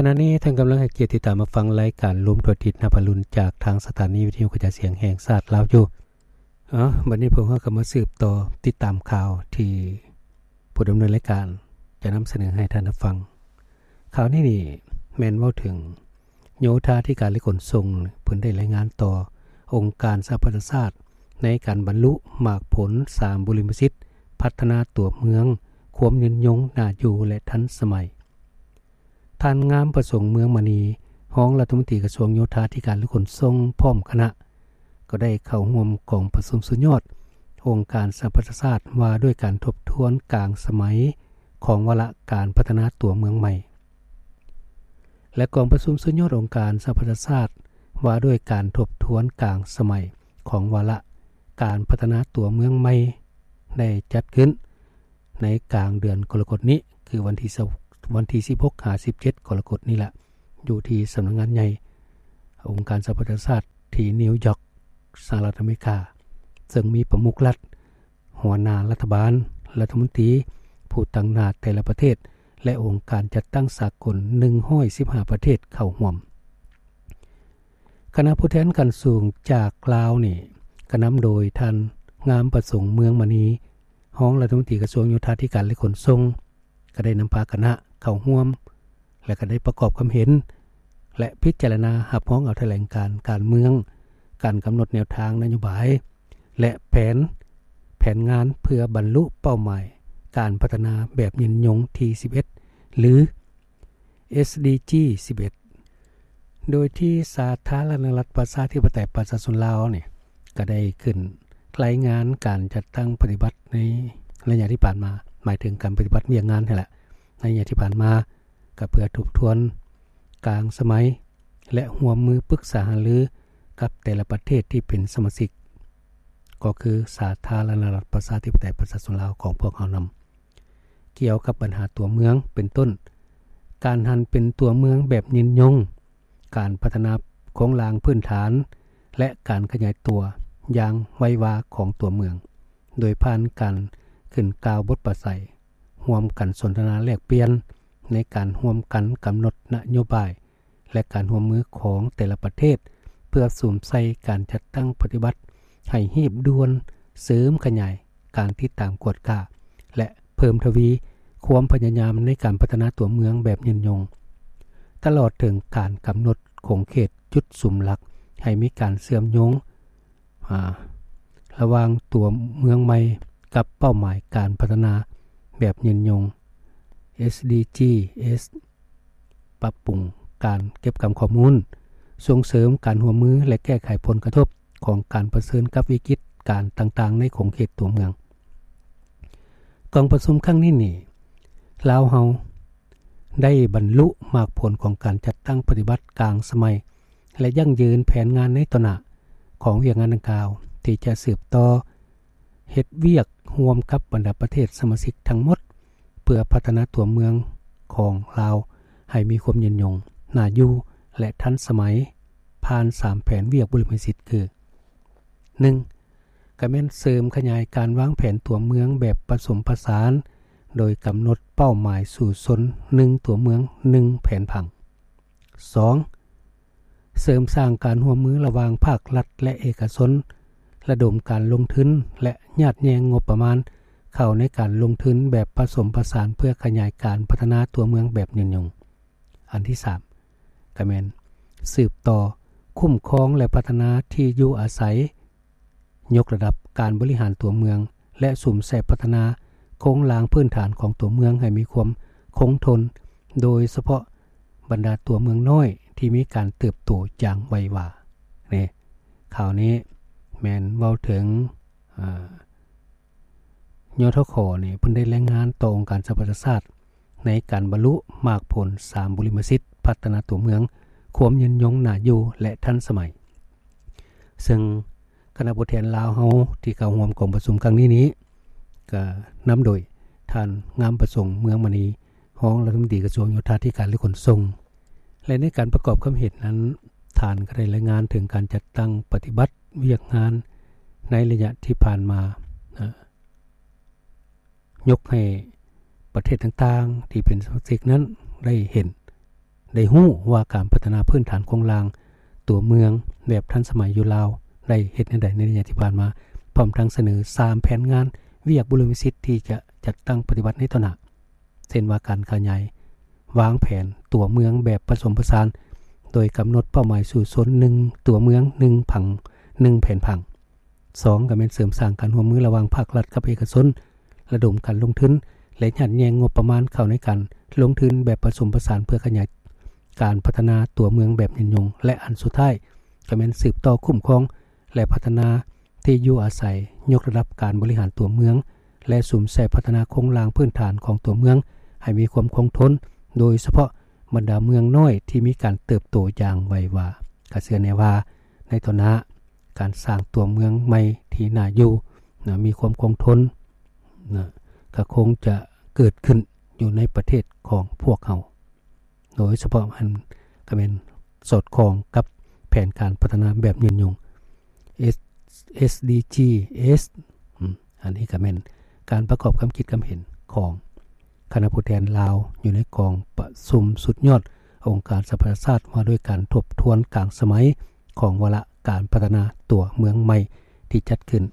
ຂະນະນີ້ທ່ານກຳລັງໃຫ້ກຽດຕິດຕາມຮັບຟັງລາຍການລວມທົ່ວອາທິດນັບອະລຸນ ຈາກທາງສະຖານີວິທະຍຸກະຈາຍສຽງແຫ່ງຊາດລາວຢູ່. ເອີ ບັດນີ້ພວກເຮົາກໍມາສືບຕໍ່ຕິດຕາມຂ່າວທີ່ຜູ້ດຳເນີນລາຍການຈະນຳສະເໜີໃຫ້ທ່ານຮັບຟັງ. ຂ່າວນີ້ນີ້ແມ່ນເວົ້າເຖິງໂຍທາທິການ ແລະ ຂົນສົ່ງ ເພິ່ນໄດ້ລາຍງານຕໍ່ອົງການສະຫະປະຊາຊາດ ໃນການບັນລຸໝາກຜົນສາມບຸລິມະສິດ ພັດທະນາຕົວເມືອງ ຄວາມຍືນຍົງ ໜ້າຢູ່ ແລະ ທັນສະໄໝ. ທ່ານ ງາມປະສົງ ເມືອງມະນີ ຮອງລັດຖະມົນຕີກະຊວງໂຍທາທິການ ແລະ ຂົນສົ່ງ ພ້ອມຄະນະ ກໍໄດ້ເຂົ້າຮ່ວມກອງປະຊຸມສຸດຍອດອົງການສະຫະປະຊາຊາດ ວ່າດ້ວຍການທົບທວນກາງສະໄໝຂອງວາລະການພັດທະນາຕົວເມືອງໃໝ່ ແລະ ກອງປະຊຸມສຸດຍອດອົງການສະຫະປະຊາຊາດ ວ່າດ້ວຍການທົບທວນກາງສະໄໝຂອງວາລະການພັດທະນາຕົວເມືອງໃໝ່ ໄດ້ຈັດຂຶ້ນໃນກາງເດືອນກໍລະກົດນີ້ ຄືວັນທີ ວັນທີສິບຫົກຫາສິບເຈັດກໍລະກົດນີ້ລະ ຢູ່ທີ່ສຳນັກງານໃຫຍ່ອົງການສະຫະປະຊາຊາດທີ່ນິວຢອກ ສະຫະລັດອາເມລິກາ ເຊິ່ງມີປະມຸກລັດ, ຫົວໜ້າລັດຖະບານ, ລັດຖະມົນຕີ, ຜູ້ຕາງໜ້າແຕ່ລະປະເທດ ແລະ ອົງການຈັດຕັ້ງສາກົນ ໜຶ່ງຮ້ອຍສິບຫ້າປະເທດເຂົ້າຮ່ວມ. ຄະນະຜູ້ແທນຂັ້ນສູງຈາກລາວນີ້ ກະນຳໂດຍທ່ານ ງາມປະສົງ ເມືອງມະນີ ຮອງລັດຖະມົນຕີກະຊວງໂຍທາທິການ ແລະ ຂົນສົ່ງ ກໍໄດ້ນຳພາຄະນະເຂົ້າຮ່ວມ ແລະ ກໍໄດ້ປະກອບຄຳເຫັນ ແລະ ພິຈາລະນາຮັບຮອງເອົາຖະແຫຼງການການເມືອງ, ການກຳນົດແນວທາງນະໂຍບາຍ ແລະ ແຜນ, ແຜນງານເພື່ອບັນລຸເປົ້າໝາຍການພັດທະນາແບບຍືນຍົງທີສິບເອັດ ຫຼື ເອສດີຈີ ສິບເອັດ ໂດຍທີ່ສາທາລະນະລັດປະຊາທິປະໄຕປະຊາຊົນລາວນີ້ ກໍໄດ້ຂຶ້ນລາຍງານການຈັດຕັ້ງປະຕິບັດໃນໄລຍະທີ່ຜ່ານມາ, ໝາຍເຖິງການປະຕິບັດວຽກງານຫັ້ນແຫຼະ ໃນໄລຍະທີ່ຜ່ານມາ ກໍເພື່ອທົບທວນກາງສະໄໝ ແລະ ຮ່ວມມືປຶກສາຫາລືກັບແຕ່ລະປະເທດທີ່ເປັນສະມາຊິກ ກໍຄືສາທາລະນະລັດປະຊາທິປະໄຕປະຊາຊົນລາວຂອງພວກເຮົານຳ. ກ່ຽວກັບບັນຫາຕົວເມືອງ ເປັນຕົ້ນ ການຫັນເປັນຕົວເມືອງແບບຍືນຍົງ, ການພັດທະນາໂຄງລ່າງພື້ນຖານ ແລະ ການຂະຫຍາຍຕົວຢ່າງໄວວາຂອງຕົວເມືອງ ໂດຍຜ່ານການຂຶ້ນກ່າວບົດປາໄສ, ຮ່ວມກັນສົນທະນາແລກປ່ຽນໃນການຮ່ວມກັນກຳນົດນະໂຍບາຍ ແລະ ການຮ່ວມມືຂອງແຕ່ລະປະເທດ ເພື່ອສຸມໃສ່ການຈັດຕັ້ງປະຕິບັດໃຫ້ຮີບດ່ວນ, ເສີມຂະຫຍາຍການຕິດຕາມກວດກາ ແລະ ເພີ່ມທະວີຄວາມພະຍາຍາມໃນການພັດທະນາຕົວເມືອງແບບຍືນຍົງ, ຕະຫຼອດເຖິງການກຳນົດຂົງເຂດຈຸດສຸມຫຼັກໃຫ້ມີການເຊື່ອມໂຍງ ອາ ລະຫວ່າງຕົວເມືອງໃໝ່ກັບເປົ້າໝາຍການພັດທະນາແບບຍືນຍົງ ເອສດີຈີ ປັບປຸງການເກັບກຳຂໍ້ມູນ, ສົ່ງເສີມການຮ່ວມມື ແລະ ແກ້ໄຂຜົນກະທົບຂອງການປະເຊີນກັບວິກິດການຕ່າງໆໃນຂົງເຂດຕົວເມືອງ. ກອງປະຊຸມຄັ້ງນີ້ນີ້ ລາວເຮົາໄດ້ບັນລຸໝາກຜົນຂອງການຈັດຕັ້ງປະຕິບັດກາງສະໄໝ ແລະ ຢັ້ງຢືນແຜນງານໃນຕໍ່ໜ້າຂອງວຽກງານດັ່ງກ່າວ ທີ່ຈະສືບຕໍ່ເຮັດວຽກຮ່ວມກັບບັນດາປະເທດສະມາຊິກທັງໝົດ ເພື່ອພັດທະນາຕົວເມືອງຂອງລາວໃຫ້ມີຄວາມຍືນຍົງ, ໜ້າຢູ່ ແລະ ທັນສະໄໝ ຜ່ານສາມແຜນວຽກບຸລິມະສິດຄື ໜຶ່ງ ກໍແມ່ນເສີມຂະຫຍາຍການວາງແຜນຕົວເມືອງແບບປະສົມປະສານ ໂດຍກຳນົດເປົ້າໝາຍສູ້ຊົນ ໜຶ່ງຕົວເມືອງ ໜຶ່ງແຜນຜັງ. ສອງ ເສີມສ້າງການຮ່ວມມືລະຫວ່າງພາກລັດ ແລະ ເອກະຊົນ, ລະດົມການລົງທຶນ ແລະ ຍາດແຍ່ງງົບປະມານເຂົ້າໃນການລົງທຶນແບບປະສົມປະສານ ເພື່ອຂະຫຍາຍການພັດທະນາຕົວເມືອງແບບຍືນຍົງ. ອັນທີສາມ ກໍແມ່ນສືບຕໍ່ຄຸ້ມຄອງ ແລະ ພັດທະນາທີ່ຢູ່ອາໄສ, ຍົກລະດັບການບໍລິຫານຕົວເມືອງ ແລະ ສຸມໃສ່ພັດທະນາໂຄງລ່າງພື້ນຖານຂອງຕົວເມືອງໃຫ້ມີຄວາມຄົງທົນ, ໂດຍສະເພາະບັນດາຕົວເມືອງນ້ອຍທີ່ມີການເຕີບໂຕຢ່າງໄວວາ. ນີ້ ຂ່າວນີ້ແມ່ນເວົ້າເຖິງ ອາ ຍທຂ ນີ້ ເພິ່ນໄດ້ລາຍງານຕໍ່ອົງການສະຫະປະຊາຊາດ ໃນການບັນລຸໝາກຜົນສາມບຸລິມະສິດ ພັດທະນາຕົວເມືອງ ຄວາມຍືນຍົງ, ໜ້າຢູ່ ແລະ ທັນສະໄໝ. ເຊິ່ງຄະນະຜູ້ແທນລາວເຮົາທີ່ເຂົ້າຮ່ວມກອງປະຊຸມຄັ້ງນີ້ນີ້ ກໍນຳໂດຍທ່ານ ງາມປະສົງ ເມືອງມະນີ ຮອງລັດຖະມົນຕີກະຊວງໂຍທາທິການ ແລະ ຂົນສົ່ງ ແລະ ໃນການປະກອບຄຳເຫັນນັ້ນ ທ່ານກໍໄດ້ລາຍງານເຖິງການຈັດຕັ້ງປະຕິບັດວຽກງານໃນໄລຍະທີ່ຜ່ານມາ ເອີ ຍົກໃຫ້ປະເທດຕ່າງໆທີ່ເປັນສະມາຊິກນັ້ນໄດ້ເຫັນ ໄດ້ຮູ້ວ່າການພັດທະນາພື້ນຖານໂຄງລ່າງຕົວເມືອງແບບທັນສະໄໝຢູ່ລາວໄດ້ເຮັດແນວໃດໃນໄລຍະທີ່ຜ່ານມາ, ພ້ອມທັງສະເໜີສາມແຜນງານວຽກບຸລິມະສິດທີ່ຈະຈັດຕັ້ງປະຕິບັດໃນຕໍ່ໜ້າ, ເຊັ່ນວ່າການຂະຫຍາຍວາງແຜນຕົວເມືອງແບບປະສົມປະສານ ໂດຍກຳນົດເປົ້າໝາຍສູ້ຊົນ ໜຶ່ງ ຕົວເມືອງ ໜຶ່ງ ຜັງ ໜຶ່ງ ແຜນຜັງ. ສອງ ກໍແມ່ນເສີມສ້າງການຮ່ວມມືລະຫວ່າງພາກລັດກັບເອກະຊົນ, ລະດົມການລົງທຶນ ແລະ ຍັດແຍ່ງງົບປະມານເຂົ້າໃນການລົງທຶນແບບປະສົມປະສານ ເພື່ອຂະຫຍາຍການພັດທະນາຕົວເມືອງແບບຍືນຍົງ ແລະ ອັນສຸດທ້າຍ ກໍແມ່ນສືບຕໍ່ຄຸ້ມຄອງ ແລະ ພັດທະນາທີ່ຢູ່ອາໄສ, ຍົກລະດັບການບໍລິຫານຕົວເມືອງ ແລະ ສຸມໃສ່ພັດທະນາໂຄງລ່າງພື້ນຖານຂອງຕົວເມືອງໃຫ້ມີຄວາມຄົງທົນ, ໂດຍສະເພາະບັນດາເມືອງນ້ອຍທີ່ມີການເຕີບໂຕຢ່າງໄວວາ. ກະເຊື່ອແນ່ວ່າໃນຕໍ່ໜ້າ ການສ້າງຕົວເມືອງໃໝ່ທີ່ໜ້າຢູ່ນະ ມີຄວາມຄົງທົນນະ ກະຄົງຈະເກີດຂຶ້ນຢູ່ໃນປະເທດຂອງພວກເຮົາ, ໂດຍສະເພາະອັນກະແມ່ນສອດຄ່ອງກັບແຜນການພັດທະນາແບບຍືນຍົງ ເອສ ເອສ ດີ ຈີ ເອສ ອາ ອັນນີ້ກະແມ່ນການປະກອບຄຳຄິດຄຳເຫັນຂອງຄະນະຜູ້ແທນລາວ ຢູ່ໃນກອງປະຊຸມສຸດຍອດອົງການສະຫະປະຊາຊາດ ວ່າດ້ວຍການທົບທວນກາງສະໄໝ ຂອງວາລະການພັດທະນາຕົວເມືອງໃໝ່ ທີ່ຈັດຂຶ້ນ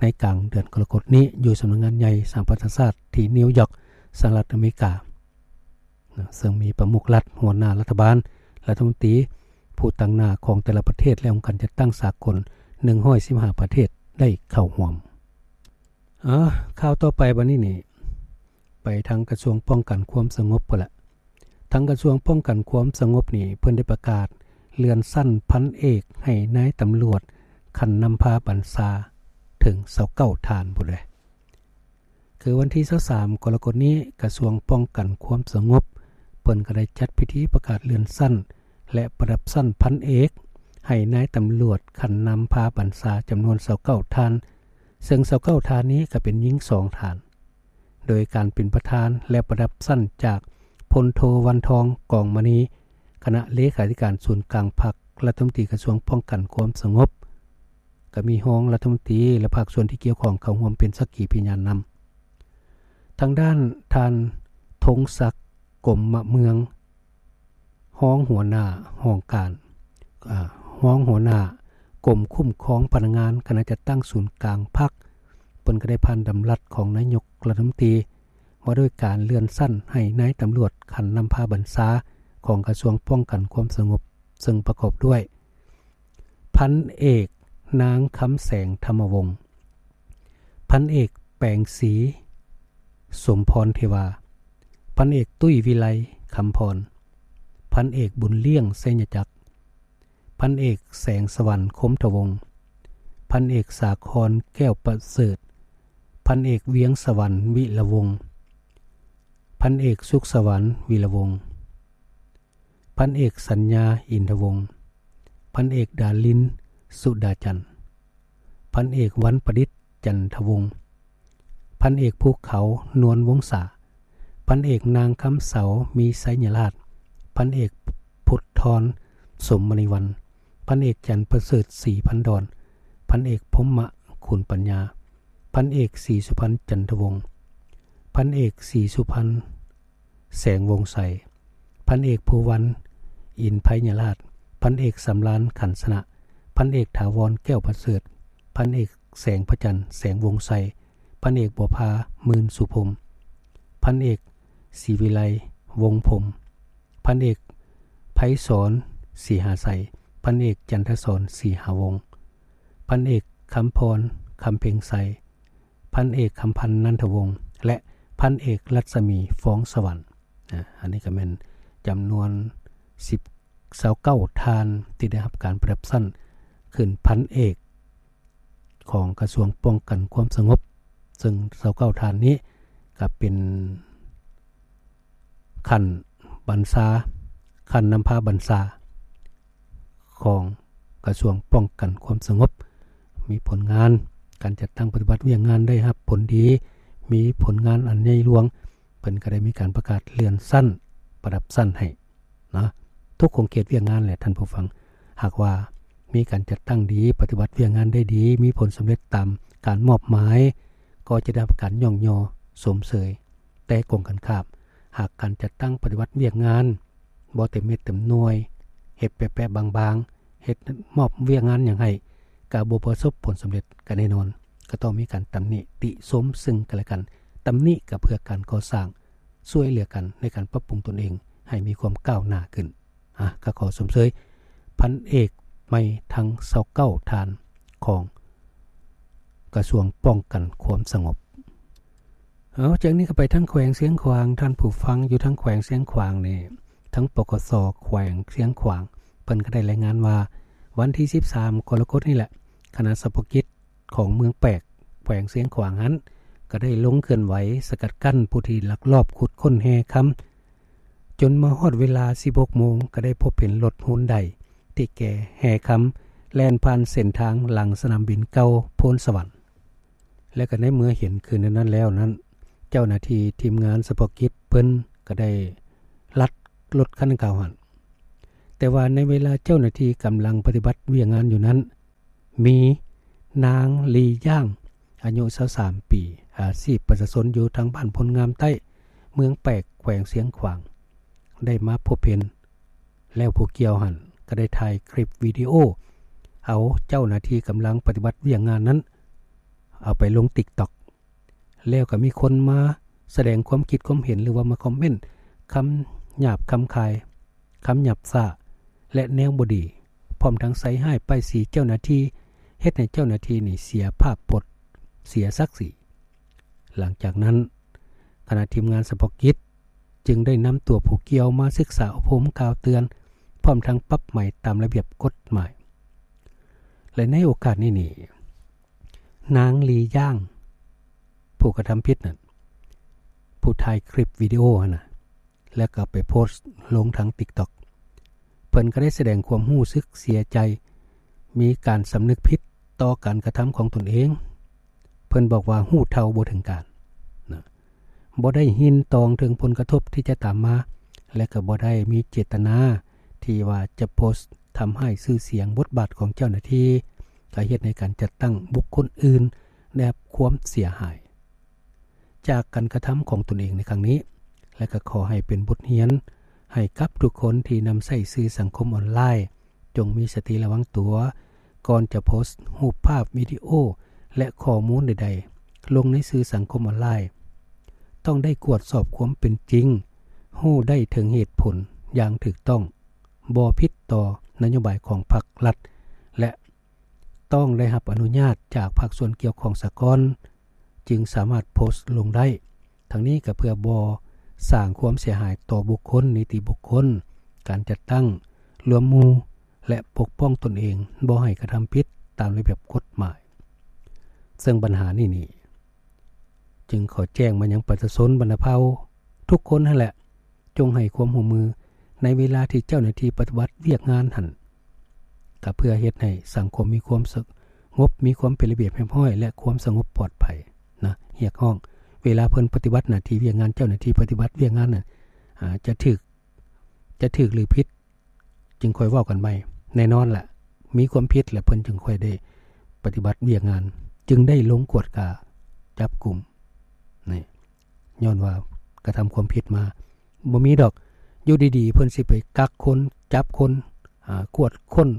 ໃນກາງເດືອນກໍລະກົດນີ້ ຢູ່ສຳນັກງານໃຫຍ່ສະຫະປະຊາຊາດທີ່ນິວຢອກ ສະຫະລັດອາເມລິກາ, ເຊິ່ງມີປະມຸກລັດ, ຫົວໜ້າລັດຖະບານ, ລັດຖະມົນຕີ, ຜູ້ຕາງໜ້າຂອງແຕ່ລະປະເທດ ແລະ ອົງການຈັດຕັ້ງສາກົນ ໜຶ່ງຮ້ອຍສິບຫ້າ ປະເທດໄດ້ເຂົ້າຮ່ວມ. ເອີ ຂ່າວຕໍ່ໄປບັດນີ້ນີ້ ໄປທາງກະຊວງປ້ອງກັນຄວາມສະຫງົບພຸ້ນລະ. ທາງກະຊວງປ້ອງກັນຄວາມສະຫງົບນີ້ ເພິ່ນໄດ້ປະກາດເລື່ອນຊັ້ນພັນເອກໃຫ້ນາຍຕຳຫຼວດຂັ້ນນຳພາບັນຊາເຖິງຊາວເກົ້າທ່ານພຸ້ນເດ້. ຄືວັນທີຊາວສາມ ກໍລະກົດນີ້ ກະຊວງປ້ອງກັນຄວາມສະຫງົບ ເພິ່ນກໍໄດ້ຈັດພິທີປະກາດເລື່ອນຊັ້ນ ແລະ ປະດັບຊັ້ນພັນເອກ ໃຫ້ນາຍຕຳຫຼວດຂັ້ນນຳພາບັນຊາຈຳນວນຊາວເກົ້າທ່ານ, ເຊິ່ງຊາວເກົ້າທ່ານນີ້ກໍເປັນຍິງສອງທ່ານ. ໂດຍການເປັນປະທານ ແລະ ປະດັບຊັ້ນຈາກ ພົນໂທ ວັນທອງ ກອງມະນີ ຄະນະເລຂາທິການສູນກາງພັກ, ລັດຖະມົນຕີກະຊວງປ້ອງກັນຄວາມສະຫງົບ, ກໍມີຮອງລັດຖະມົນຕີ ແລະ ພາກສ່ວນທີ່ກ່ຽວຂ້ອງເຂົ້າຮ່ວມເປັນສັກຂີພະຍານນຳ. ທາງດ້ານທ່ານ ທົງສັກ ກົມມະເມືອງ ຮອງຫົວໜ້າຫ້ອງການ ອາ ຮອງຫົວໜ້າກົມຄຸ້ມຄອງພະນັກງານ ຄະນະຈັດຕັ້ງສູນກາງພັກ ເພິ່ນກໍໄດ້ຜ່ານດຳລັດຂອງນາຍົກລັດຖະມົນຕີ ວ່າດ້ວຍການເລື່ອນຊັ້ນໃຫ້ນາຍຕຳຫຼວດຂັ້ນນຳພາບັນຊາຂອງກະຊວງປ້ອງກັນຄວາມສະຫງົບ, ເຊິ່ງປະກອບດ້ວຍ ພັນເອກ ນາງ ຄຳແສງ ທຳມະວົງ, ພັນເອກ ແປງສີ ສົມພອນເທວາ, ພັນເອກ ຕຸ້ຍ ວິໄລ ຄຳພອນ, ພັນເອກ ບຸນລ້ຽງ ໄຊຍະຈັກ, ພັນເອກ ແສງສະຫວັນ ຄົມທະວົງ, ພັນເອກ ສາຄອນ ແກ້ວປະເສີດ, ພັນເອກ ວຽງສະຫວັນ ວິລະວົງ, ພັນເອກ ສຸກສະຫວັນ ວິລະວົງ, ພັນເອກ ສັນຍາ ອິນທະວົງ, ພັນເອກ ດາລິນ ສຸດາຈັນ, ພັນເອກ ວັນປະດິດ ຈັນທະວົງ, ພັນເອກ ພູເຂົາ ນວນວົງສາ, ພັນເອກ ນາງ ຄຳເສົາ ມີໄຊຍະລາດ, ພັນເອກ ພຸດທອນ ສົມມະນີວັນ, ພັນເອກ ຈັນປະເສີດ ສີພັນດອນ, ພັນເອກ ພົມມະ ຂຸນປັນຍາ, ພັນເອກ ສີສຸພັນ ຈັນທະວົງ, ພັນເອກ ສີສຸພັນ ແສງວົງໄຊ, ພັນເອກ ພູວັນ ອິນໄພຍະລາດ, ພັນເອກ ສຳລານ ຂັນຊະນະ, ພັນເອກ ຖາວອນ ແກ້ວປະເສີດ, ພັນເອກ ແສງພະຈັນ ແສງວົງໄຊ, ພັນເອກ ບົວພາ ໝື່ນສຸພົມ, ພັນເອກ ສີວິໄລ ວົງພົມ, ພັນເອກ ໄພສອນ ສີຫາໄຊ, ພັນເອກ ຈັນທະສອນ ສີຫາວົງ, ພັນເອກ ຄຳພອນ ຄຳເພັງໄຊ, ພັນເອກ ຄຳພັນ ນັນທະວົງ ແລະ ພັນເອກ ລັດສະໝີ ຟອງສະຫວັນ. ອາ ອັນນີ້ກໍແມ່ນຈຳນວນສິບ ຊາວເກົ້າທ່ານ ທີ່ໄດ້ຮັບການປະດັບຊັ້ນຂຶ້ນພັນເອກຂອງກະຊວງປ້ອງກັນຄວາມສະຫງົບ, ເຊິ່ງຊາວເກົ້າທ່ານນີ້ກໍເປັນຂັ້ນບັນຊາ, ຂັ້ນນຳພາບັນຊາ ຂອງກະຊວງປ້ອງກັນຄວາມສະຫງົບ, ມີຜົນງານການຈັດຕັ້ງປະຕິບັດວຽກງານໄດ້ຮັບຜົນດີ, ມີຜົນງານອັນໃຫຍ່ຫຼວງ, ເພິ່ນກໍໄດ້ມີການປະກາດເລື່ອນຊັ້ນ, ປະດັບຊັ້ນໃຫ້ນະ ທຸກຂົງເຂດວຽກງານແຫຼະທ່ານຜູ້ຟັງ. ຫາກວ່າມີການຈັດຕັ້ງດີ, ປະຕິບັດວຽກງານໄດ້ດີ, ມີຜົນສຳເລັດຕາມການມອບໝາຍ, ກໍຈະໄດ້ຮັບການຍ້ອງຍໍຊົມເຊີຍ. ແຕ່ກົງກັນຂ້າມ, ຫາກການຈັດຕັ້ງປະຕິບັດວຽກງານ ບໍ່ເຕັມເມັດເຕັມໜ່ວຍ ເຮັດແປະໆບາງໆ ເຮັດມອບວຽກງານຫຍັງໃຫ້ ກໍບໍ່ປະສົບຜົນສຳເລັດ ກໍແນ່ນອນ ກໍຕ້ອງມີການຕຳໜິຕິຊົມເຊິ່ງກັນແລະກັນ. ຕຳໜິກໍເພື່ອການກໍ່ສ້າງ ຊ່ວຍເຫຼືອກັນໃນການປັບປຸງຕົນເອງໃຫ້ມີຄວາມກ້າວໜ້າຂຶ້ນ. ອາ ກໍຂໍຊົມເຊີຍພັນເອກໃໝ່ທັງຊາວເກົ້າທ່ານຂອງກະຊວງປ້ອງກັນຄວາມສະຫງົບ. ເອົາ ຈາກນີ້ກໍໄປທາງແຂວງຊຽງຂວາງ. ທ່ານຜູ້ຟັງຢູ່ທາງແຂວງຊຽງຂວາງນີ້ ທາງ ປກສ ແຂວງຊຽງຂວາງ ເພິ່ນກໍໄດ້ລາຍງານວ່າ ວັນທີສິບສາມ ກໍລະກົດນີ້ແຫຼະ ຄະນະສະເພາະກິດ ຂອງເມືອງແປກ ແຂວງຊຽງຂວາງຫັ້ນ ກໍໄດ້ລົງເຄື່ອນໄຫວສະກັດກັ້ນຜູ້ທີ່ລັກລອບຂຸດຄົ້ນແຮ່ຄຳ ຈົນມາຮອດເວລາສິບຫົກໂມງ ກໍໄດ້ພົບເຫັນລົດຮຸນໄດທີ່ແກ່ແຮ່ຄຳ ແລ່ນຜ່ານເສັ້ນທາງຫຼັງສະໜາມບິນເກົ່າໂພນສະຫວັນ ແລະ ກໍໃນເມື່ອເຫັນຄືນນັ້ນແລ້ວນັ້ນ ເຈົ້າໜ້າທີ່ທີມງານສະເພາະກິດເພິ່ນກໍໄດ້ລັດລົດຄັນດັ່ງກ່າວຫັ້ນ. ແຕ່ວ່າໃນເວລາເຈົ້າໜ້າທີ່ກຳລັງປະຕິບັດວຽກງານຢູ່ນັ້ນ ມີນາງ ລີ ຢາງ ອາຍຸຊາວສາມປີ ອາຊີບປະຊາຊົນຢູ່ທາງບ້ານໂພນງາມໃຕ້ ເມືອງແປກ ແຂວງຊຽງຂວາງ ໄດ້ມາພົບເຫັນ ແລ້ວຜູ້ກ່ຽວຫັ້ນກໍໄດ້ຖ່າຍຄລິບວິດີໂອ ເອົາເຈົ້າໜ້າທີ່ກຳລັງປະຕິບັດວຽກງານນັ້ນ ເອົາໄປລົງ TikTok ແລ້ວກໍມີຄົນມາສະແດງຄວາມຄິດຄວາມເຫັນ ຫຼືວ່າມາຄອມເມັນຄຳຫຍາບຄຳຄາຍ ຄຳຫຍາບຊ້າ ແລະ ແນວບໍ່ດີ ພ້ອມທັງໃສ່ຮ້າຍປ້າຍສີເຈົ້າໜ້າທີ່ ເຮັດໃຫ້ເຈົ້າໜ້າທີ່ນີ້ເສຍພາບພົດ ເສຍສັກສີ. ຫຼັງຈາກນັ້ນ ຄະນະທີມງານສະເພາະກິດຈຶ່ງໄດ້ນຳຕົວຜູ້ກ່ຽວມາສຶກສາອົບຮົມກ່າວເຕືອນ ພ້ອມທັງປັບໃໝຕາມລະບຽບກົດໝາຍ ແລະ ໃນໂອກາດນີ້ນີ້ ນາງ ລີ ຢາງ ຜູ້ກະທຳຜິດນັ້ນ ຜູ້ຖ່າຍຄລິບວິດີໂອຫັ້ນນະ ແລ້ວກໍໄປໂພສລົງທາງ TikTok ເພິ່ນກໍໄດ້ສະແດງຄວາມຮູ້ສຶກເສຍໃຈ ມີການສຳນຶກຜິດຕໍ່ການກະທຳຂອງຕົນເອງ. ເພິ່ນບອກວ່າຮູ້ເທົ່າບໍ່ເຖິງການນະ ບໍ່ໄດ້ຍິນຕອງເຖິງຜົນກະທົບທີ່ຈະຕາມມາ ແລະ ກໍບໍ່ໄດ້ມີເຈດຕະນາທີ່ວ່າຈະໂພສທຳຮ້າຍຊື່ສຽງບົດບາດຂອງເຈົ້າໜ້າທີ່ ກໍເຮັດໃຫ້ການຈັດຕັ້ງບຸກຄົນອື່ນໄດ້ຮັບຄວາມເສຍຫາຍ ຈາກການກະທຳຂອງຕົນເອງໃນຄັ້ງນີ້ ແລະ ກໍຂໍໃຫ້ເປັນບົດຮຽນໃຫ້ກັບທຸກຄົນທີ່ນຳໃຊ້ສື່ສັງຄົມອອນລາຍ ຈົ່ງມີສະຕິລະວັງຕົວ ກ່ອນຈະໂພສຮູບພາບ, ວິດີໂອ ແລະ ຂໍ້ມູນໃດໆລົງໃນສື່ສັງຄົມອອນລາຍ. ຕ້ອງໄດ້ກວດສອບຄວາມເປັນຈິງ, ຮູ້ໄດ້ເຖິງເຫດຜົນຢ່າງຖືກຕ້ອງ, ບໍ່ຜິດຕໍ່ນະໂຍບາຍຂອງພັກລັດ ແລະ ຕ້ອງໄດ້ຮັບອະນຸຍາດຈາກພາກສ່ວນກ່ຽວຂ້ອງສາກ່ອນ ຈຶ່ງສາມາດໂພສລົງໄດ້. ທັງນີ້ກໍເພື່ອບໍ່ສ້າງຄວາມເສຍຫາຍຕໍ່ບຸກຄົນ, ນິຕິບຸກຄົນ, ການຈັດຕັ້ງ, ລວມໝູ່ ແລະ ປົກປ້ອງຕົນເອງ ບໍ່ໃຫ້ກະທຳຜິດຕາມລະບຽບກົດໝາຍ. ເຊິ່ງບັນຫານີ້ນີ້ ຈຶ່ງຂໍແຈ້ງມາຍັງປະຊາຊົນບັນດາເຜົ່າທຸກຄົນຫັ້ນແຫຼະ ຈົ່ງໃຫ້ຄວາມຮ່ວມມືໃນເວລາທີ່ເຈົ້າໜ້າທີ່ປະຕິບັດວຽກງານຫັ້ນ ກໍເພື່ອເຮັດໃຫ້ສັງຄົມມີຄວາມສະຫງົບ, ມີຄວາມເປັນລະບຽບຮຽບຮ້ອຍ ແລະ ຄວາມສະຫງົບປອດໄພນະ. ຮຽກຮ້ອງເວລາເພິ່ນປະຕິບັດໜ້າທີ່ວຽກງານ, ເຈົ້າໜ້າທີ່ປະຕິບັດວຽກງານນັ້ນ ອາ ຈະຖືກ, ຈະຖືກຫຼືຜິດ ຈຶ່ງຄ່ອຍເວົ້າກັນໃໝ່. ແນ່ນອນລະ ມີຄວາມຜິດແລ້ວເພິ່ນຈຶ່ງຄ່ອຍໄດ້ປະຕິບັດວຽກງານ, ຈຶ່ງໄດ້ລົງກວດກາຈັບກຸມ. ນີ້ ຍ້ອນວ່າກະທຳຄວາມຜິດມາ. ບໍ່ມີດອກ ຢູ່ດີໆ ເພິ່ນຊິໄປກັກຄົນ, ຈັບຄົນ, ອາ, ກວດຄົ້ນ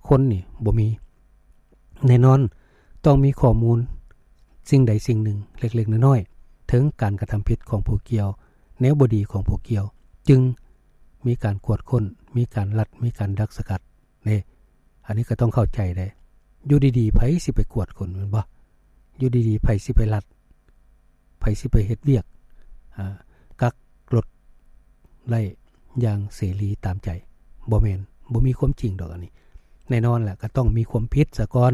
ຄົນນີ້ ບໍ່ມີ. ແນ່ນອນ ຕ້ອງມີຂໍ້ມູນສິ່ງໃດສິ່ງໜຶ່ງເລັກໆນ້ອຍໆ ເຖິງການກະທຳຜິດຂອງຜູ້ກ່ຽວ, ແນວບໍ່ດີຂອງຜູ້ກ່ຽວ, ຈຶ່ງມີການກວດຄົ້ນ, ມີການລັດ, ມີການດັກສະກັດເດ້. ອັນນີ້ກໍຕ້ອງເຂົ້າໃຈເດ້. ຢູ່ດີໆ ໃຜຊິໄປກວດຄົນ ແມ່ນບໍ່? ຢູ່ດີໆ ໃຜຊິໄປລັດ? ໃຜຊິໄປເຮັດວຽກ ອາ ກັກລົດໄດ້ຢ່າງເສລີຕາມໃຈ? ບໍ່ແມ່ນ, ບໍ່ມີຄວາມຈິງດອກອັນນີ້. ແນ່ນອນແຫຼະ ກໍຕ້ອງມີຄວາມຜິດສາກ່ອນ,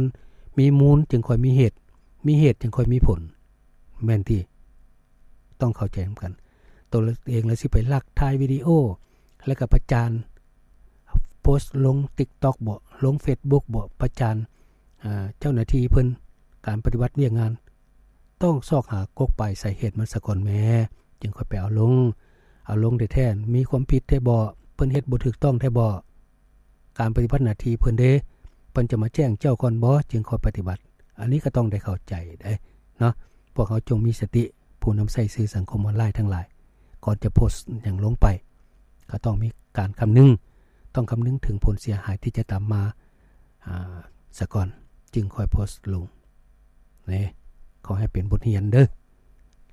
ມີມູນຈຶ່ງຄ່ອຍມີເຫດ, ມີເຫດຈຶ່ງຄ່ອຍມີຜົນ. ແມ່ນຕິ? ຕ້ອງເຂົ້າໃຈນຳກັນ. ຕົວເອງລະຊິໄປລັກຖ່າຍວິດີໂອ ແລ້ວກໍປະຈານ, ໂພສລົງ TikTok ບໍ, ລົງ Facebook ບໍ, ປະຈານ ອາ ເຈົ້າໜ້າທີ່ເພິ່ນ ການປະຕິບັດວຽກງານ. ຕ້ອງຊອກຫາກົກປາຍສາເຫດມັນສາກ່ອນແມ້ ຈຶ່ງຄ່ອຍໄປເອົາລົງ. ເອົາລົງແທ້ໆ ມີຄວາມຜິດແທ້ບໍ? ເພິ່ນເຮັດບໍ່ຖືກຕ້ອງແທ້ບໍ? ການປະຕິບັດໜ້າທີ່ເພິ່ນເດ້ ເພິ່ນຈະມາແຈ້ງເຈົ້າກ່ອນບໍ ຈຶ່ງຄ່ອຍປະຕິບັດ? ອັນນີ້ກໍຕ້ອງໄດ້ເຂົ້າໃຈເດ້ເນາະ. ພວກເຮົາຈົ່ງມີສະຕິ ຜູ້ນຳໃຊ້ສື່ສັງຄົມອອນລາຍທັງຫຼາຍ ກ່ອນຈະໂພສຫຍັງລົງໄປ. ກໍຕ້ອງມີການຄຳນຶງ, ຕ້ອງຄຳນຶງເຖິງຜົນເສຍຫາຍທີ່ຈະຕາມມາ ອາ ສາກ່ອນ ຈຶ່ງຄ່ອຍໂພສລົງເນາະ. ຂໍໃຫ້ເປັນບົດຮຽນເດີ້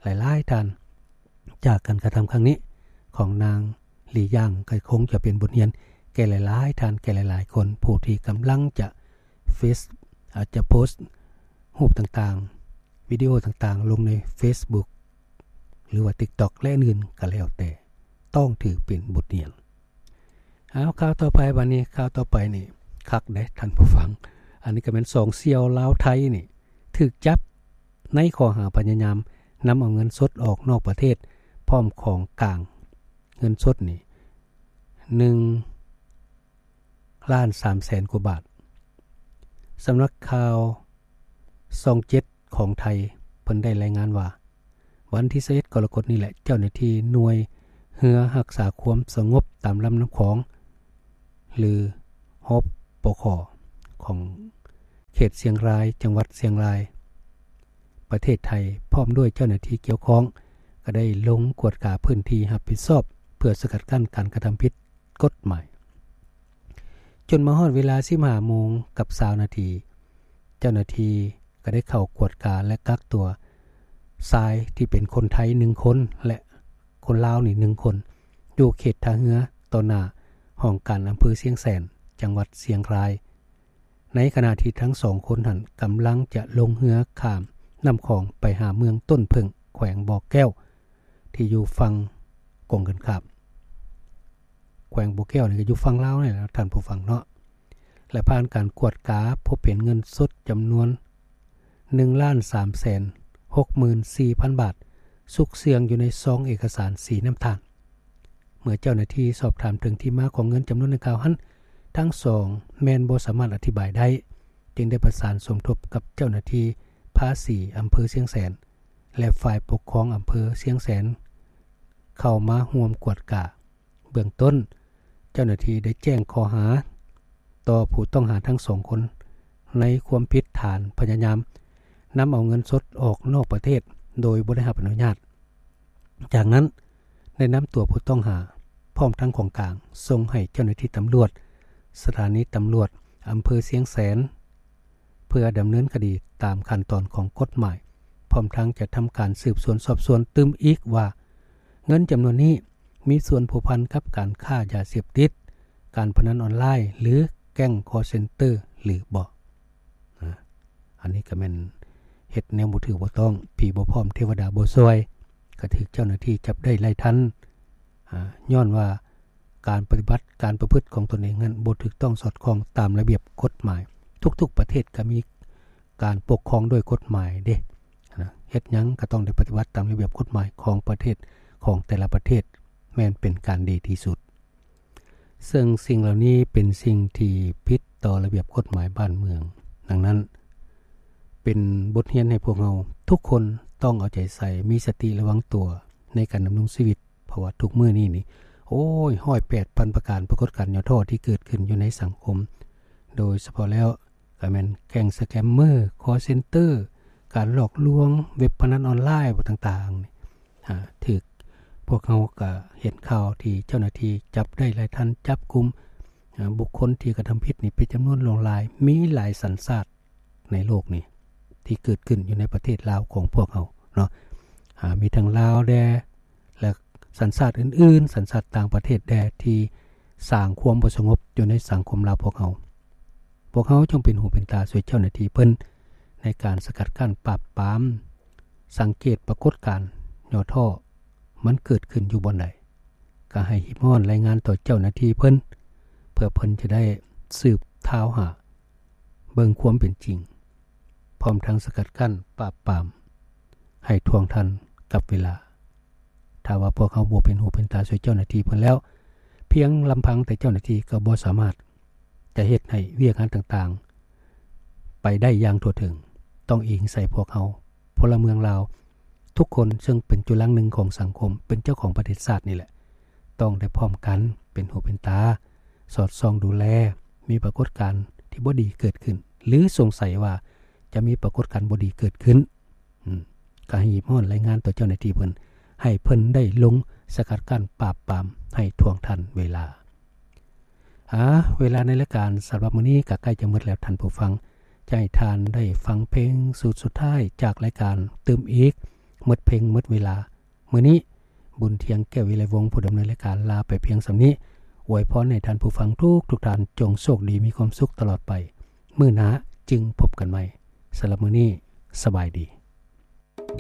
ຫຼາຍໆທ່ານ. ຈາກການກະທຳຄັ້ງນີ້ຂອງນາງ ຫຼີ ຢາງ ກໍຄົງຈະເປັນບົດຮຽນແກ່ຫຼາຍໆທ່ານ, ແກ່ຫຼາຍໆຄົນ ຜູ້ທີ່ກຳລັງຈະເຟສ ອາດຈະໂພສຮູບຕ່າງໆ ວິດີໂອຕ່າງໆລົງໃນເຟສບຸກ ຫຼືວ່າຕິກຕັອກ ແລະ ອື່ນໆກໍແລ້ວແຕ່, ຕ້ອງຖືເປັນບົດຮຽນ. ເອົາ ຂ່າວຕໍ່ໄປ ບັດນີ້ຂ່າວຕໍ່ໄປນີ້ຄັກເດ້ທ່ານຜູ້ຟັງ. ອັນນີ້ກໍແມ່ນສອງສ່ຽວລາວໄທນີ້ຖືກຈັບໃນຂໍ້ຫາພະຍາຍາມນຳເອົາເງິນສົດອອກນອກປະເທດ ພ້ອມຂອງກາງເງິນສົດນີ້ ໜຶ່ງລ້ານສາມແສນກວ່າບາດ. ສຳນັກຂ່າວຊ່ອງເຈັດຂອງໄທ ເພິ່ນໄດ້ລາຍງານວ່າ ວັນທີຊາວເອັດ ກໍລະກົດນີ້ແຫຼະ ເຈົ້າໜ້າທີ່ໜ່ວຍເຮືອຮັກສາຄວາມສະຫງົບຕາມລຳນ້ຳຂອງ ຫຼື ຮປຂ ຂອງເຂດຊຽງລາຍ ຈັງຫວັດຊຽງລາຍ ປະເທດໄທ ພ້ອມດ້ວຍເຈົ້າໜ້າທີ່ກ່ຽວຂ້ອງ ກໍໄດ້ລົງກວດກາພື້ນທີ່ຮັບຜິດຊອບ ເພື່ອສະກັດກັ້ນການກະທຳຜິດ ກົດໝາຍ. ຈົນມາຮອດເວລາສິບຫ້າໂມງກັບຊາວນາທີ ເຈົ້າໜ້າທີ່ກໍໄດ້ເຂົ້າກວດກາ ແລະ ກັກຕົວຊາຍທີ່ເປັນຄົນໄທໜຶ່ງຄົນ ແລະ ຄົນລາວນີ້ໜຶ່ງຄົນ ຢູ່ເຂດທ່າເຮືອ ຕໍ່ໜ້າຫ້ອງການອຳເພີຊຽງແສນ ຈັງຫວັດຊຽງລາຍ. ໃນຂະນະທີ່ທັງສອງຄົນຫັ້ນກຳລັງຈະລົງເຮືອຂ້າມນ້ຳຂອງໄປຫາເມືອງຕົ້ນເຜິ້ງ ແຂວງບໍ່ແກ້ວ ທີ່ຢູ່ຝັ່ງກົງກັນຂ້າມ. ແຂວງບໍ່ແກ້ວນີ້ກໍຢູ່ຝັ່ງລາວນີ້ແຫຼະທ່ານຜູ້ຟັງເນາະ. ແລະ ຜ່ານການກວດກາພົບເຫັນເງິນສົດຈຳນວນໜຶ່ງລ້ານສາມແສນຫົກໝື່ນສີ່ພັນບາດ ຊຸກເຊື່ອງຢູ່ໃນຊອງເອກະສານສີນ້ຳຕານ. ເມື່ອເຈົ້າໜ້າທີ່ສອບຖາມເຖິງທີ່ມາຂອງເງິນຈຳນວນດັ່ງກ່າວຫັ້ນ ທັງສອງແມ່ນບໍ່ສາມາດອະທິບາຍໄດ້, ຈຶ່ງໄດ້ປະສານສົມທົບກັບເຈົ້າໜ້າທີ່ພາສີອຳເພີຊຽງແສນ ແລະ ຝ່າຍປົກຄອງອຳເພີຊຽງແສນ ເຂົ້າມາຮ່ວມກວດກາ. ເບື້ອງຕົ້ນ ເຈົ້າໜ້າທີ່ໄດ້ແຈ້ງຂໍ້ຫາຕໍ່ຜູ້ຕ້ອງຫາທັງສອງຄົນ ໃນຄວາມຜິດຖານພະຍາຍາມນຳເອົາເງິນສົດອອກນອກປະເທດໂດຍບໍ່ໄດ້ຮັບອະນຸຍາດ. ຈາກນັ້ນ ໄດ້ນຳຕົວຜູ້ຕ້ອງຫາ ພ້ອມທັງຂອງກາງ ສົ່ງໃຫ້ເຈົ້າໜ້າທີ່ຕຳຫຼວດ ສະຖານີຕຳຫຼວດອຳເພີຊຽງແສນ ເພື່ອດຳເນີນຄະດີຕາມຂັ້ນຕອນຂອງກົດໝາຍ, ພ້ອມທັງຈະທຳການສືບສວນສອບສວນຕື່ມອີກວ່າ ເງິນຈຳນວນນີ້ມີສ່ວນພົວພັນກັບການຄ້າຢາເສບຕິດ, ການພະນັນອອນລາຍ ຫຼື ແກ້ງຄໍເຊັນເຕີ ຫຼືບໍ່. ອາ ອັນນີ້ກໍແມ່ນເຮັດແນວບໍ່ຖືກບໍ່ຕ້ອງ, ຜີບໍ່ພ້ອມເທວະດາບໍ່ຊ່ວຍ, ກໍຖືກເຈົ້າໜ້າທີ່ຈັບໄດ້ໄລ່ທັນ. ອາ ຍ້ອນວ່າການປະຕິບັດ, ການປະພຶດຂອງຕົນເອງນັ້ນບໍ່ຖືກຕ້ອງສອດຄ່ອງຕາມລະບຽບກົດໝາຍ. ທຸກໆປະເທດກໍມີການປົກຄອງດ້ວຍກົດໝາຍເດ້. ນະ ເຮັດຫຍັງກໍຕ້ອງໄດ້ປະຕິບັດຕາມລະບຽບກົດໝາຍຂອງປະເທດ, ຂອງແຕ່ລະປະເທດ ແມ່ນເປັນການດີທີ່ສຸດ. ເຊິ່ງສິ່ງເຫຼົ່ານີ້ເປັນສິ່ງທີ່ຜິດຕໍ່ລະບຽບກົດໝາຍບ້ານເມືອງ. ດັ່ງນັ້ນ ເປັນບົດຮຽນໃຫ້ພວກເຮົາທຸກຄົນຕ້ອງເອົາໃຈໃສ່, ມີສະຕິລະວັງຕົວໃນການດຳລົງຊີວິດ, ເພາະວ່າທຸກມື້ນີ້ນີ້ ໂອ້ຍ ຮ້ອຍແປດພັນປະການປາກົດການຫຍໍ້ທໍ້ທີ່ເກີດຂຶ້ນຢູ່ໃນສັງຄົມ, ໂດຍສະເພາະແລ້ວ ກໍແມ່ນແກ້ງສະແກມເມີ, ຄໍເຊັນເຕີ, ການຫຼອກລວງ, ເວັບພະນັນອອນລາຍຕ່າງໆ ອາ ຖືກ ພວກເຮົາກໍເຫັນຂ່າວທີ່ເຈົ້າໜ້າທີ່ຈັບໄດ້ຫຼາຍທ່ານ, ຈັບກຸມ ອາ ບຸກຄົນທີ່ກະທຳຜິດນີ້ເປັນຈຳນວນຫຼວງຫຼາຍ, ມີຫຼາຍສັນຊາດໃນໂລກນີ້ທີ່ເກີດຂຶ້ນຢູ່ໃນປະເທດລາວຂອງພວກເຮົາເນາະ. ອາ ມີທັງລາວແດ່ ແລະ ສັນຊາດອື່ນໆ, ສັນຊາດຕ່າງປະເທດແດ່ ທີ່ສ້າງຄວາມບໍ່ສະຫງົບຢູ່ໃນສັງຄົມລາວພວກເຮົາ. ພວກເຮົາຈົ່ງເປັນຫູເປັນຕາຊ່ວຍເຈົ້າໜ້າທີ່ເພິ່ນໃນການສະກັດກັ້ນປາບປາມ, ສັງເກດປາກົດການຫຍໍ້ທໍ້ ມັນເກີດຂຶ້ນຢູ່ບ່ອນໃດ, ກໍໃຫ້ຮີບຮ້ອນລາຍງານຕໍ່ເຈົ້າໜ້າທີ່ເພິ່ນ, ເພື່ອເພິ່ນຈະໄດ້ສືບຊາວຫາເບິ່ງຄວາມເປັນຈິງ, ພ້ອມທັງສະກັດກັ້ນປາບປາມ ໃຫ້ທ່ວງທັນກັບເວລາ. ຖ້າວ່າພວກເຮົາບໍ່ເປັນຫູເປັນຕາຊ່ວຍເຈົ້າໜ້າທີ່ເພິ່ນແລ້ວ, ພຽງລຳພັງແຕ່ເຈົ້າໜ້າທີ່ກໍບໍ່ສາມາດຈະເຮັດໃຫ້ວຽກງານຕ່າງໆໄປໄດ້ຢ່າງທົ່ວເຖິງ. ຕ້ອງອີງໃສ່ພວກເຮົາ ພົນລະເມືອງລາວທຸກຄົນ ເຊິ່ງເປັນຈຸລັງໜຶ່ງຂອງສັງຄົມ, ເປັນເຈົ້າຂອງປະເທດຊາດນີ້ແຫຼະ, ຕ້ອງໄດ້ພ້ອມກັນເປັນຫູເປັນຕາ, ສອດສ່ອງດູແລ, ມີປາກົດການທີ່ບໍ່ດີເກີດຂຶ້ນ ຫຼື ສົງໄສວ່າຈະມີປາກົດການບໍ່ດີເກີດຂຶ້ນ, ອາ ກໍໃຫ້ຮີບຮ້ອນລາຍງານຕໍ່ເຈົ້າໜ້າທີ່ເພິ່ນ, ໃຫ້ເພິ່ນໄດ້ລົງ ສະກັດກັ້ນປາບປາມໃຫ້ທ່ວງທັນເວລາ. ອາ ເວລາໃນລາຍການສຳລັບມື້ນີ້ກໍໃກ້ຈະໝົດແລ້ວທ່ານຜູ້ຟັງ, ຈະໃຫ້ທ່ານໄດ້ຟັງເພງຊຸດສຸດທ້າຍຈາກລາຍການຕື່ມອີກ, ໝົດເພງໝົດເວລາ. ມື້ນີ້ ບຸນທຽງ ແກ້ວວິໄລວົງ ຜູ້ດຳເນີນລາຍການ ລາໄປພຽງສ່ຳນີ້. ອວຍພອນໃຫ້ທ່ານຜູ້ຟັງທຸກໆທ່ານ ຈົ່ງໂຊກດີມີຄວາມສຸກຕະຫຼອດໄປ. ມື້ໜ້າຈຶ່ງພົບກັນໃໝ່. ສຳລັບມື້ນີ້ ສະບາຍດີ.